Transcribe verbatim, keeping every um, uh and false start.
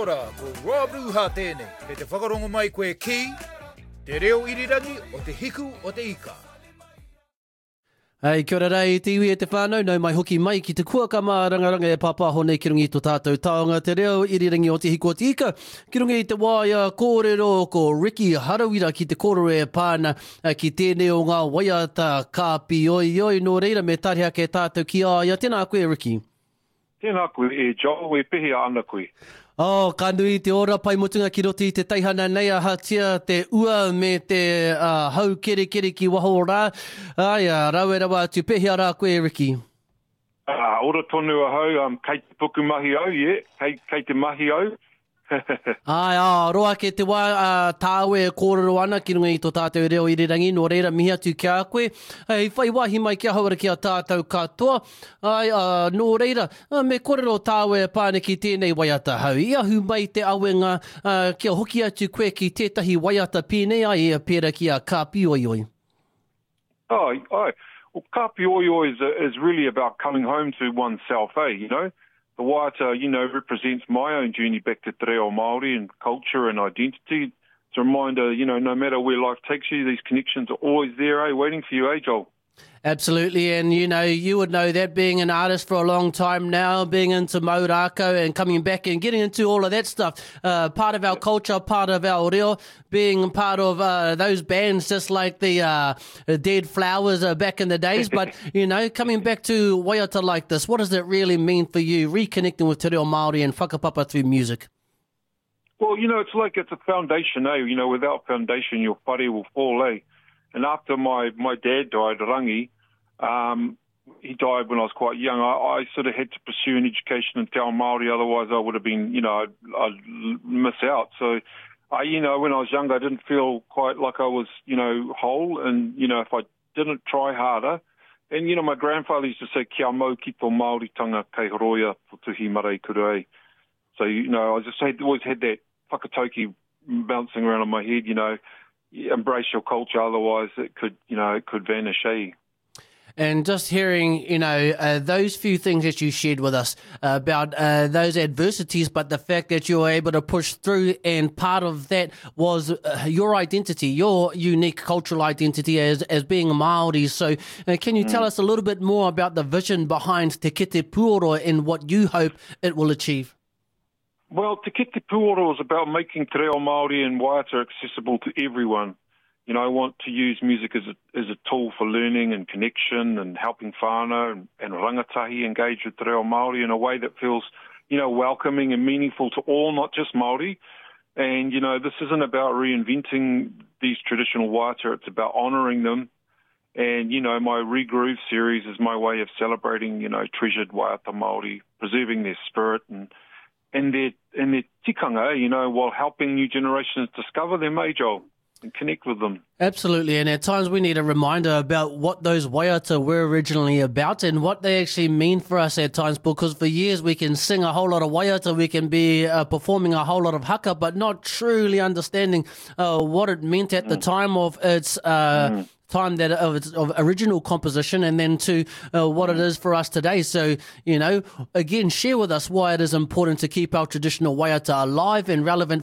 ora, ko Rob Ruha tēnei. Kei te whakarongo mai koe ki Te Reo Irirangi o Te Hiku o Te Ika. Hei, kia ora rā e te iwi e te whānau, nau mai hoki mai ki te kuaka mārangaranga e pāpāho nei ki runga i tō tātou taonga te reo irirangi o Te Hiku o Te Ika. Ki runga i te waea kōrero ko Ricky Harawira ki te kōrero e pā ana ki tēnei o ngā waiata kāpioioi. Nō reira me tari ake tātou ki a ia. Tēnā koe Ricky. Tēnā koe e Joel, e pehea ana koe? Oh, ka nui te ora pai mutunga ki roto i te teihana nei ahatia te ua me te uh, hau kerekere ki waho rā. Ai, uh, rawe rawa atu, pehea rā koe Ricky? Uh, ora tonu ahau, um, kei te puku mahi au, yeah, kei, kei te mahi au. Ai, ā, roa ake te wā ā, tāu e kōrero ana ki runga i tō tātou reo irirangi, nō reira mihi atu ki a koe. Hei whai wāhi mai ki ahau ara ki a tātou katoa. Ai, ā, nō reira, me kōrero tāu e pā ana ki tēnei waiata hau. I ahu mai te awenga, ā, kia hoki atu koe ki tētahi waiata pēnei ai, pērā ki a Ka Pioioi. Ai, ai. Well, Ka Pioioi is, is really about coming home to oneself, eh, you know? The waiata, you know, represents my own journey back to te reo Māori and culture and identity. It's a reminder, you know, no matter where life takes you, these connections are always there, eh, waiting for you, eh, Joel? Absolutely, and you know, you would know that being an artist for a long time now, being into mau rākau and coming back and getting into all of that stuff, uh, part of our culture, part of our reo, being part of uh, those bands just like the uh, Dead Flowers uh, back in the days. But, you know, coming back to waiata like this, what does it really mean for you, reconnecting with te reo Māori and whakapapa through music? Well, you know, it's like it's a foundation, eh? You know, without foundation, your whare will fall, eh? And after my, my dad died, Rangi, um, he died when I was quite young. I, I sort of had to pursue an education in te ao Māori, otherwise I would have been, you know, I'd, I'd miss out. So, I, you know, when I was younger, I didn't feel quite like I was, you know, whole. And, you know, if I didn't try harder, and, you know, my grandfather used to say, kia mau ki tō Māoritanga kei horoia tō tuhi māreikura e. So, you know, I just had, always had that whakatauki bouncing around in my head, you know, embrace your culture, otherwise it could, you know, it could vanish, eh? And just hearing, you know, uh, those few things that you shared with us uh, about uh, those adversities, but the fact that you were able to push through, and part of that was uh, your identity, your unique cultural identity as, as being Māori. So uh, can you mm. tell us a little bit more about the vision behind Te Kete Puoro and what you hope it will achieve? Well, Te Kete Puoro is about making te reo Māori and waiata accessible to everyone. You know, I want to use music as a, as a tool for learning and connection and helping whānau and, and rangatahi engage with te reo Māori in a way that feels, you know, welcoming and meaningful to all, not just Māori. And, you know, this isn't about reinventing these traditional waiata, it's about honouring them. And, you know, my Regroove series is my way of celebrating, you know, treasured waiata Māori, preserving their spirit and and their, and their tikanga, you know, while helping new generations discover their major and connect with them. Absolutely, and at times we need a reminder about what those waiata were originally about and what they actually mean for us at times, because for years we can sing a whole lot of waiata, we can be uh, performing a whole lot of haka, but not truly understanding uh, what it meant at mm. the time of its uh, mm. time that of its of original composition, and then to uh, what it is for us today. So, you know, again, share with us why it is important to keep our traditional waiata alive and relevant